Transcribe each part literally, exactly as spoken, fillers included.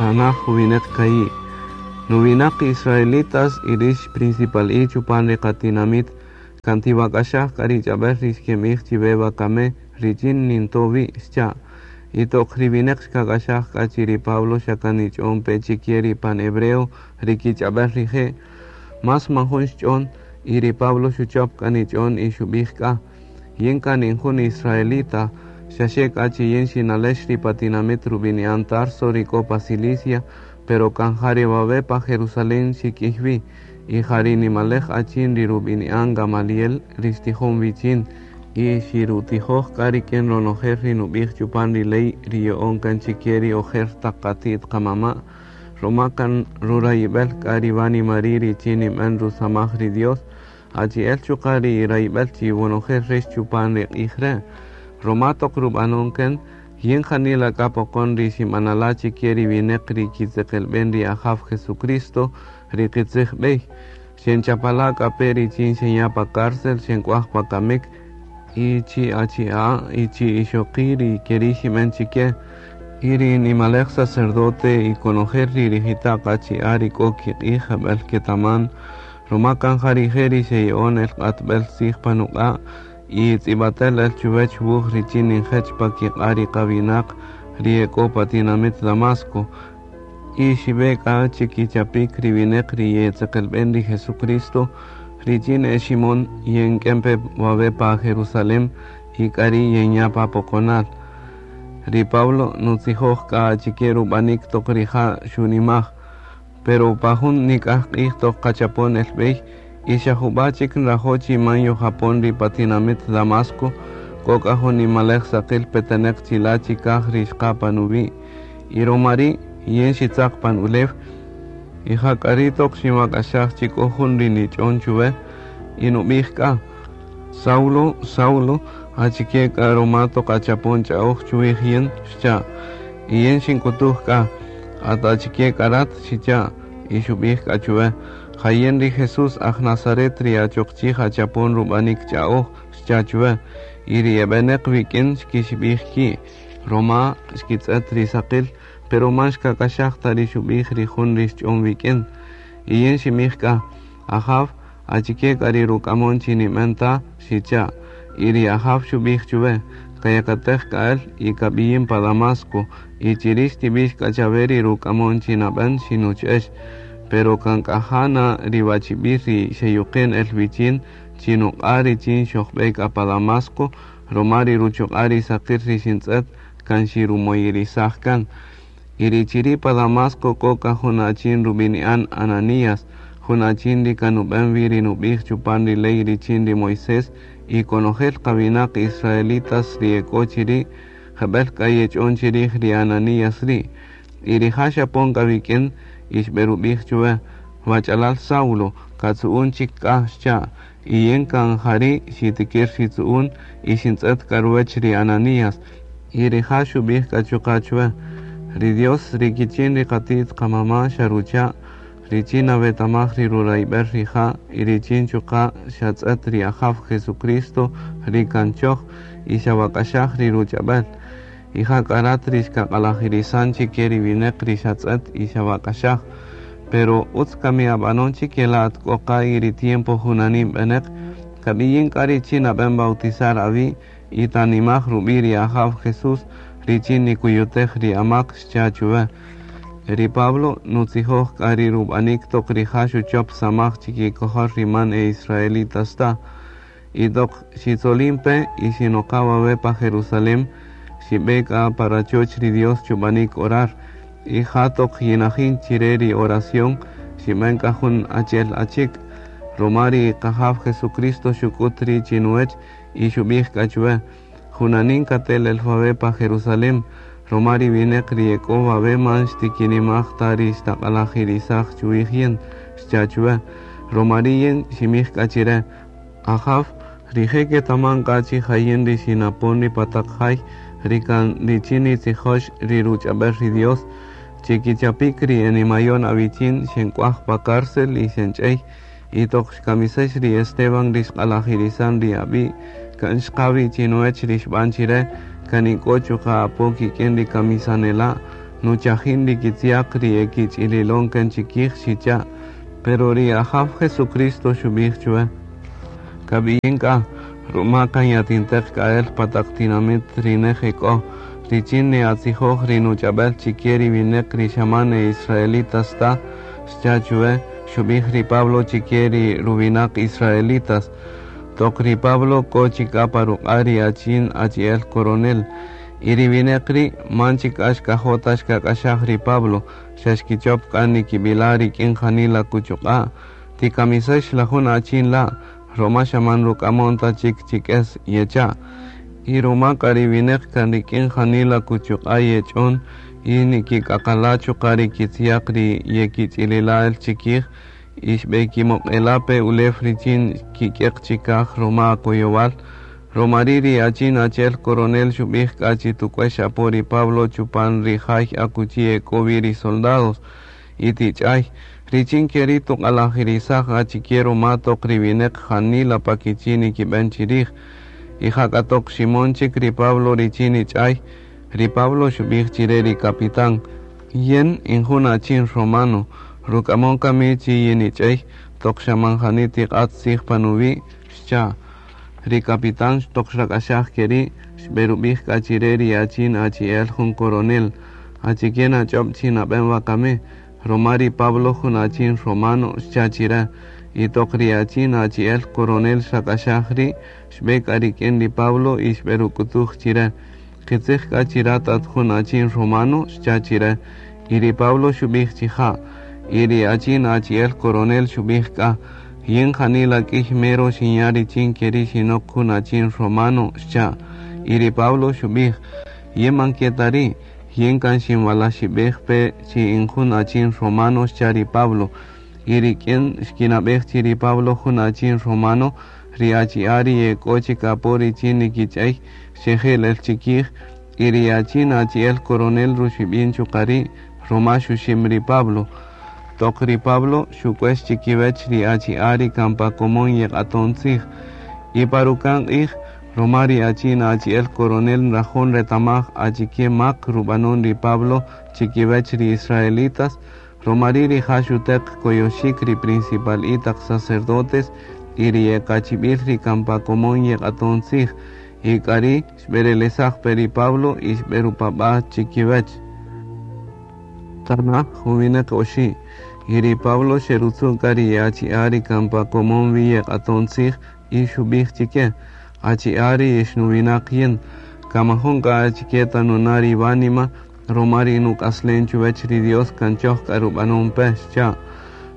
Tanaj juwineq ka'i'. Nuwinaq israelitas y rix principal'i chupan ri qatinamit kan tiwak'axaj k'a ri ch'ab'äl ri xkinb'ij chiwe wakami richin ninto' wi' xcha'. Y toq ri wineq xkak'axaj k'a chi ri Pablo xa kan nich'on pe chike ri pan hebreo ri kich'ab'äl rije', mas man jun xch'on y ri Pablo xuchop k'a nich'on y xub'ij k'a: Yin kan in jun israelita, xaxe k'a chi yin xinalex ri pa tinamit rub'ini'an Tarso ri k'o pa Cilicia, pero kan ja ri wawe' pa Jerusalén xik'ij wi, y ja ri nimalej achin ri rub'ini'an Gamaliel ri xtijon wichin, y xirutijoj k'a rik'in ronojel ri nub'ij chupan ri ley ri ya'on kan chike ri ojer taq qati't qamama', ruma kan rurayib'el k'a ri wánima ri' richin ninb'an rusamaj ri Dios, achi'el chuqa' ri rayb'el chi wonojel rix chupan ri q'ij re'. Ruma toq rub'anon kan, yin janila k'a poqon ri xinb'anala' chike ri wineq ri kitzeqelb'en ri Ajaw Jesucristo ri qitzij b'ey. Xenchapala' k'a pe richin xenya' pa cárcel, xenk'uaj pa kamik, y chi achi'a' y chi ixoqi' ri keri' xinb'en chike. Y ri nimalej sacerdote y konojel ri rijita'q achi'a' ri k'o kiq'ij jeb'ël ketaman, ruma kan ja rije' ri xeya'on el q'atb'el tzij pa nuq'a' y tz'ib'atel el chuwech wuj richin ninjech pa kiq'a' ri qawinaq ri e k'o pa tinamit Damasco. Y xib'e k'a chikichapik ri wineq ri yetzeqelb'en ri Jesucristo richin e Ximon yenk'en pe wawe' pa Jerusalén y k'ari' yenya' pa poqonal. Ri Pablo nutzijoj k'a achike rub'anik toq rija' xunimaj, pero pa jun nik'aj q'ij toq qachapon el b'ey y xa jub'a' chik nrajo' chi man yojapon ri pa tinamit Damasco, k'o k'a jun nimalej saqil peteneq chila' chikaj ri xqa' pa nuwi'. Y ruma ri' yin xitzaq pan ulew, y ja k'a ri' toq xinwak'axaj chi k'o jun ri nich'on chuwe y nub'ij k'a: Saulo, Saulo, achike k'a ruma toq achapon ch'a'oj chuwij yin, xcha'. Y yin xink'utuj k'a: At achike k'a rat, xicha', y xub'ij k'a chuwe: Ja yin ri Jesús aj Nazaret ri achoq chij achapon rub'anik ch'a'oj, xcha' chuwe. Y ri eb'eneq wik'in xkixib'ij ki', ruma xkitz'et ri saqil, pero man xkak'axaj ta ri xub'ij ri jun ri xch'on wik'in. Y yin xinb'ij k'a: Ajaw, achike k'a ri ruk'amon chi ninb'en ta, xicha'. Y ri Ajaw xub'ij chuwe: Kayakatej k'a el y kab'iyin pa Damasco, y chiri' xtib'ix k'a chawe ri ruk'amon chi nab'en xinuch'ex. Pero kan k'a na ri wachib'il ri xeyuqen el wichin chi nuq'a' richin xojb'e k'a pa Damasco, ruma ri ruchuq'a' ri saqil ri xintz'et kan xirumoyirisaj kan. Y ri chiri' pa Damasco k'o k'a jun achin rub'ini'an Ananías, jun achin ri kan nub'en wi ri nub'ij chupan ri ley richin ri Moisés, y konojel qawinaq israelitas ri e k'o chiri' jeb'ël k'a yech'on chirij ri Ananías ri'. Y rija' xapon k'a wik'in y xb'erub'ij chuwe: Wach'alal Saulo, katzu'un chik k'a, xcha'. Y yin kan jari' xitikir xitzu'un y xintz'et k'a ruwech ri Ananías. Y rija' xub'ij k'a chuqa' chuwe: Ri Dios ri kichin ri qati't qamama' xarucha' richin nawetamaj ri rurayb'el rija' y richin chuqa' xatz'et ri Ajaw Jesucristo ri kan choj y xawak'axaj ri ruch'ab'el. Y ja k'a rat ri xkaq'alajirisan chike ri wineq ri xatz'et y xawak'axaj. Pero utz kami ab'anon chike la at k'o qa y ri tiempo junanin b'eneq, kab'iyin k'a richin nab'en bautizar awi' y tanimaj rub'i' ri Ajaw Jesús richin nikuyutej ri amak, xcha' chuwe. Ri Pablo nutzijoj k'a ri rub'anik toq rija' xuchop samaj chikikojol ri man e israelitas ta. Y toq xitzolin pe y xinoqa wawe' pa Jerusalén, xib'e k'a pa rachoch ri Dios chub'anik orar. Y ja toq yinajin chire ri oración, xib'en k'a jun achi'el achik', ruma ri Qajaw Jesucristo xuk'ut ri' chinuwech y xub'ij k'a chuwe: Junanin katel el wawe' pa Jerusalén, ruma ri wineq ri e k'o wawe' man xtikinimaj ta ri xtaq'alajirisaj chuwij yin, xcha' chuwe. Ruma ri' yin xinb'ij k'a chire: Ajaw, rije' ketaman k'a chi ja yin ri xinapon ri pa taq jay ri kan richin nitzijox ri ruch'ab'el ri Dios, chikichapik ri enimayon awichin xenk'uaj pa cárcel y xench'ey, y toq xkamisex ri Esteban ri xq'alajirisan ri ab'i', kan xqa wi chinuwech ri xb'an chire, kan ink'o chuqa' apo kik'in ri kamisanela' Nuchajin ri kitziaq ri ekich'ililon kan chikij xicha'. Pero ri Ajaw Jesucristo xub'ij chwe: Kab'iyin k'a, ruma kan yatinteq k'a el pa taq tinamit ri nej e k'o, richin ne'atzijoj ri nuch'ab'al chike ri wineq ri xa man e israelitas ta, xcha' chwe, xub'ij ri Pablo chike ri ruwinaq israelitas. Toq ri Pablo k'o chik k'a pa ruq'a' ri achin achi'el coronel. Y ri wineq ri' man chik k'a xkajo' ta xkak'axaj ri Pablo, xa xkichop k'a nikib'ila' rik'in janila kuchuq'a'. Tikamisex la jun achin la', roma xa man ruk'amon ta chik chik'es yecha'. Y ruma k'a ri wineq kan rik'in janila kuchuq'a' yech'on y nikik'aqala' chuqa' ri kitziaq ri yekich'ilila' el chikij, y xb'ekimoq'ela' pe ulew richin kik'eq chikaj roma koyowal. Roma ri' ri achin achi'el coronel xub'ij k'a chi tuk'uex apo ri Pablo chupan ri jay akuchi e k'o wi ri soldados y tich'ay, richin keri' tuq'alajirisaj achike ruma toq ri wineq janila pa kichi' nikib'en chirij. Y jak'a toq ximon chik ri Pablo richin nich'ay, ri Pablo xub'ij chire ri capitán: Yin in jun achin romano, ruk'amon kami chi yinich'ey toq xa man jani tiq'at tzij pa nuwi', xcha'. Ri capitán toq xrak'axaj keri' xb'erub'ij k'a chire ri achin achi'el jun coronel: Achike nach'ob' chi nab'en wakami, roma ri Pablo jun achin romano, xcha' chire. Y toq ri achin achi'el coronel xrak'axaj ri', xb'e k'a rik'in ri Pablo y xb'eruk'utuj chire: Qitzij k'a chi rat at jun achin romano, xcha' chire. Y ri Pablo xub'ij chi ja'. Y ri achin achi'el coronel xub'ij k'a: Yin janila k'ij mero xinya' richin keri' xinok jun achin romano, xcha'. Y ri Pablo xub'ij: Yin man ke ta ri', yin kan xinwalaxib'ej pe chi in jun achin romano, xcha' ri Pablo. Y rik'in xkinab'ej chi ri Pablo jun achin romano, ri achi'a' ri e k'o chik apo richin nikich'ey xejel el chikij, y ri achin achi'el coronel ruxib'in chuqa' ri' roma xuxim ri Pablo. Toq ri Pablo xuk'uex chikiwech ri achi'a' ri kan pa komon yeq'aton tzij. Y pa ruka'n q'ij, roma ri achin achi'el coronel nrajo' nretamaj achike mak rub'anon ri Pablo chikiwech ri israelitas, roma ri' rija' xuteq koyoxik ri principal'i taq sacerdotes y ri ekachib'il ri kan pa komon yeq'aton tzij. Y k'ari' xb'erelesaj pe ri Pablo y xb'erupab'a' chikiwech. Tanaj juwineq oxi'. Y ri Pablo xerutzu' k'a ri achi'a' ri kan pa komon wi yeq'aton tzij y xub'ij chike: Achi'a' ri ixnuwinaq yin, kan majun k'a achike ta nuna' ri wánima, roma ri nuk'aslen chuwech ri Dios kan choj k'a rub'anon pe, xcha'.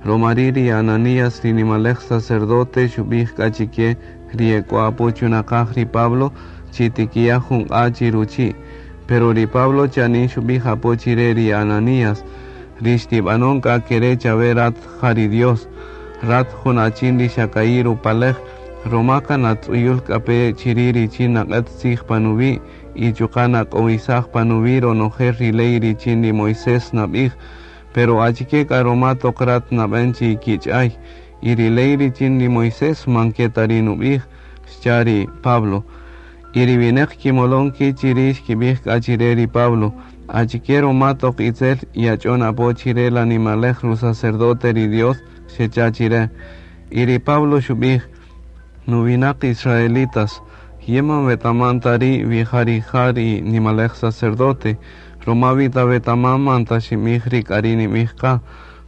Roma ri' ri Ananías ri nimalej sacerdote xub'ij k'a chike ri e k'o apo chunaqaj ri Pablo chi tikiya' jun q'a' chi ruchi'. Pero ri Pablo chanin xub'ij apo chire ri Ananías: Ri xtib'anon k'a kere' chawe rat ja ri Dios, rat jun achin ri xa ka'i' rupalej, roma kan atz'uyul k'a pe chiri' richin naq'et tzij pa nuwi' y chuqa' nak'owisaj pa nuwi' ronojel ri ley richin ri Moisés nab'ij. Pero achike k'a roma toq rat nab'en chi kich'ay, y ri ley richin ri Moisés man ke ta ri nub'ij, xcha' ri Pablo. Y ri wineq kimolon ki' chiri' xkib'ij k'a chire ri Pablo: Achike roma toq itzel yach'on apo chire la nimalej rusacerdote ri Dios, xecha' chire. Y ri Pablo xub'ij: Nuwinaq israelitas, yin man wetaman ta ri' wi ja rija' ri nimalej sacerdote, roma wi ta wetaman man ta xinb'ij ri k'ari' nib'ij qa,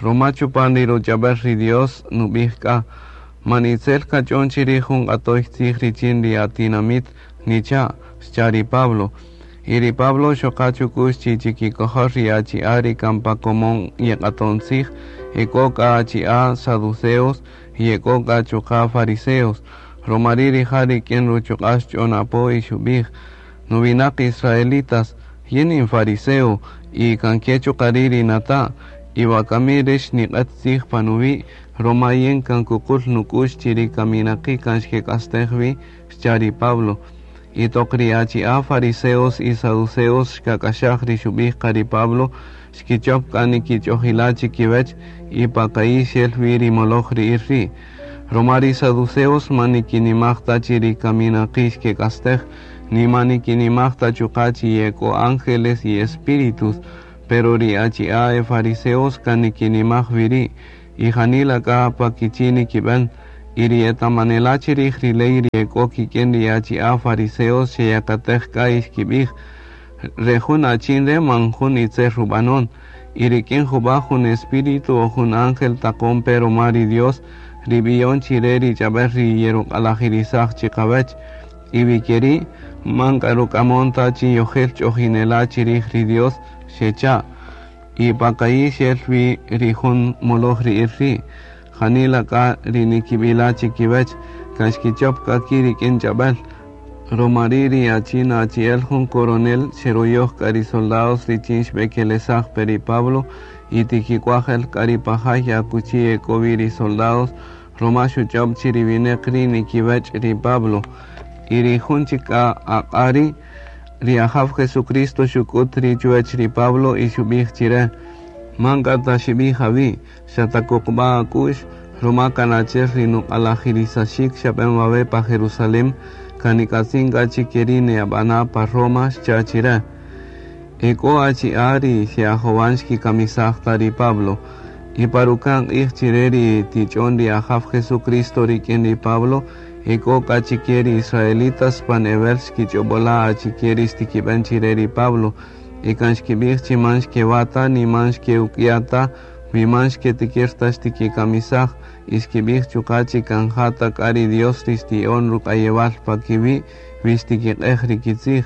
roma chupan ri ruch'ab'al ri Dios nub'ij k'a: Man itzel kach'on chirij jun q'atoy tzij richin ri atinamit nicha', xcha' ri Pablo. Y ri Pablo xoqa chuk'ux chi chikikojol ri achi'a' ri kan pa komon yeq'aton tzij, e k'o k'a achi'a' saduceos y e k'o k'a chuqa' fariseos. Roma ri' rija' rik'in ruchuq'a' xch'on apo y xub'ij: Nuwinaq israelitas, yin in fariseo y kan ke chuqa' ri' ri nata', y wakami rix niq'et tzij pa nuwi', roma yin kan kuqul nuk'ux chi ri kaminaqi' kan xkek'astej wi, xcha' ri Pablo. Y toq ri achi'a' fariseos y saduceos xkak'axaj ri xub'ij qa ri Pablo, xkichop k'a nikich'ojila' chikiwech y pa ka'i' xel wi ri moloj ri'il ri'. Roma ri saduceos man nikinimaj ta chi ri kaminaqi' xkek'astej, ni man nikinimaj ta chuqa' chi ye k'o ángeles y espíritus, Pero ri achi'a e fariseos kan nikinimaj wi ri', y janila k'a pa kichi' nikib'en, y ri etamanela' chirij ri ley ri ek'o kik'in ri achi'a fariseos xeyakatej k'a y xkib'ij, re jun achin re' man jun itzel rub'anon, y rik'in jub'a' jun espíritu o jun ángel taqon pe ruma ri Dios ri b'iyon chire ri ch'ab'äl ri yeruq'alajirisaj chiqawach, y wi keri' man k'a ruk'amon ta chi yojel ch'ojinela' chirij ri Dios xecha', y pa ka'i' xel wi ri jun moloj ri'il ri', janila k'a ri nikib'ila' chikiwach, kan xkichop k'a ki' rik'in ch'ab'äl, ruma ri' ri achin achi'el jun coronel xeroyoj k'a ri soldados richin xb'ekelesaj pe ri Pablo y tikik'uaj el k'a ri pa jay akuchi ek'o wi ri soldados, ruma xuch'ob' chi ri wineq ri' nikiwech' ri Pablo, y ri jun chik k'a aq'a' ri', ri Ajaw Jesucristo xuk'ut ri' chuwach ri Pablo y xub'ij chire, man k'a ta xib'ij awi', xa takuqb'a' ak'u'x, ruma kan achi'el ri nuq'alajirisaxik xab'en wawe' pa Jerusalem, kan nik'atzin k'a chi keri' ne'ab'ana' pa Roma xcha' chire. Ek'o achi'a' ri xe'ajowan xkikamisaj ta ri Pablo, y pa ruka'n q'ij chire ri tich'on ri Ajaw Jesucristo rik'in ri Pablo, ek'o k'a chike ri israelitas pan ewel xkich'ob'ola' achike ri xtikib'en chire ri Pablo, y kan xkib'ij chi man xkewa' ta ni man xkeuk'ya' ta, wi man xketikir ta xtikikamisaj, y xkib'ij chuqa' chi kan ja ta k'a ri Dios ri xti'on ruk'ayewal pa kiwi' wi xtikiq'ej ri kitzij,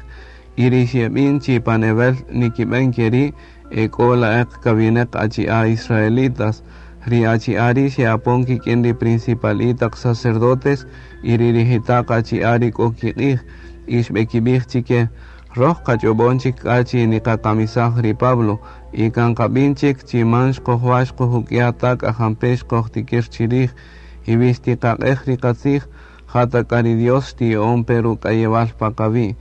y ri xeb'in chi pan ewel nikib'en keri' ek'o la'eq kawineq achi'a' israelitas, ri achi'a' ri' xe'apon kik'in ri principal'i taq sacerdotes y ri rijita'q achi'a' ri k'o kiq'ij, y xb'ekib'ij chike, roj qach'ob'on chik k'a chi niqakamisaj ri Pablo, y kan qab'in chik chi man xqojwa' xqojuk'ya' ta k'a jampe' xqojtikir chirij, y wi xtiqaq'ej ri qatzij, ja ta k'a ri Dios xti'on pe ruk'ayewal pa qawi',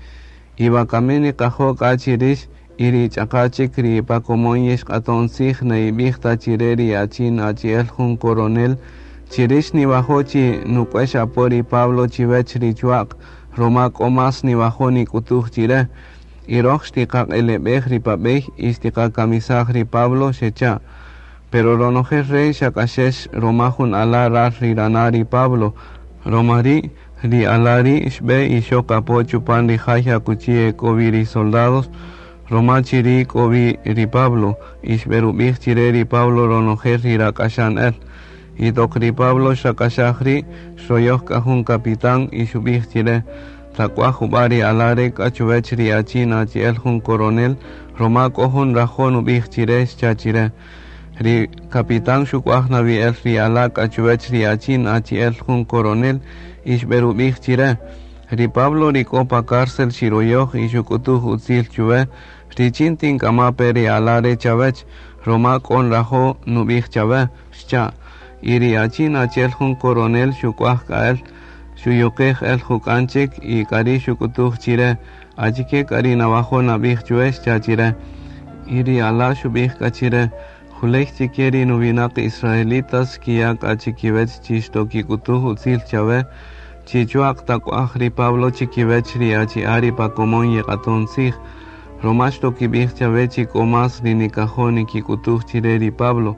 y wakami niqajo' k'a chi rix y ri ch'aqa' chik ri pa komon yixq'aton tzij ne'ib'ij ta chire ri achin achi'el jun coronel, chirix niwajo' chi nuk'uex apo ri Pablo chiwech ri chua'q, ruma k'o mas niwajo' nik'utuj chire, y roj xtiqaq'eleb'ej ri pa b'ey y xtiqakamisaj ri Pablo xecha'. Pero ronojel re' xak'axex ruma jun ala' ral ri rana' ri Pablo, ruma ri' ri ala' ri' xb'e y xok apo chupan ri jay akuchi ek'o wi ri soldados, ruma chiri' k'o wi ri Pablo, y xb'erub'ij chire ri Pablo ronojel ri rak'axan el. Y toq ri Pablo xak'axaj ri' xroyoj k'a jun capitán y xub'ij chire, tak'uaj jub'a' ri ala' re' k'a chuwech ri achin achi'el jun coronel, ruma k'o jun rajo' nub'ij chire xcha' chire. Ri capitán xuk'uaj nawi el ri ala' k'a chuwech ri achin achi'el jun coronel y xb'erub'ij chire. Ri Pablo ri k'o pa cárcel xiroyoj y xuk'utuj utzil chuwe, richin tink'ama' pe ri ala' re' chawech, ruma k'o nrajo' nub'ij chawe, xcha'. Y ri achin achi'el jun coronel xuk'uaj k'a el, xuyuqej el juk'an chik y k'ari' xuk'utuj chire, achike k'a ri nawajo' nab'ij chuwe xcha' chire. Y ri ala' xub'ij k'a chire, juley chike ri nuwinaq israelitas xkiya' k'a chikiwech chi xtokik'utuj utzil chawe, chi chua'q tak'uaj ri Pablo chikiwech ri achi'a' ri pa komon yeq'aton tzij, ruma xtokib'ij chawe chi k'o mas ri nikajo' nikik'utuj chire ri Pablo.